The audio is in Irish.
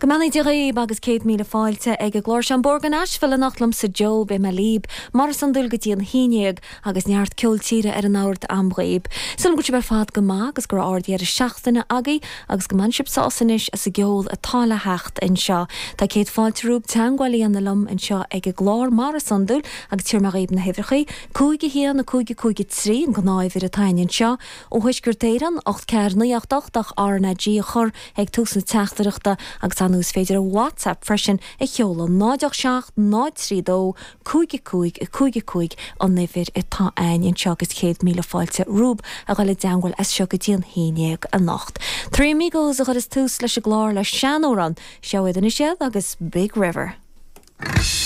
Go mbeannaí Dia dhaoib agus 100,000 fáilte ag an gclár seo An Bóthar go Nashville anocht liomsa Joe, beidh mé líb mar is iondúil go dtí an haon dhéag agus neart ceol tíre ar an ord a'm dhaoib. Súil a'm go bhfuil sibh ar fad go maith agus go raibh ard-dheireadh seachtaine agaibh agus go mbainfidh sibh sásamh anois as an gceol atá le theacht anseo. Tá céad fáilte romhaibh teagmháil a dhéanamh liom anseo ag an gclár mar is iondúil agus tabharfaidh mé dhaoib na huimhreachaí, 5 1 5 5 3 an gnáth-uimhir atá a'inn anseo. Ó Thuaisceart Éireann, 8 4 9 8 8 ach RnaG a chur ag tús na teachtaireachta agus ar ndóigh is féidir WhatsApp freisin a sheoladh, 0 8 7 0 3 2 5 5 5 5 an uimhir atá a'inn anseo agus 100,000 fáilte romhaibh a dhul i dteangmháil as seo go dtí an haon dhéag anocht. Three Amigos a chuireas tús leis an gclár le seanamhrán, seo iad anois iad agus Big River.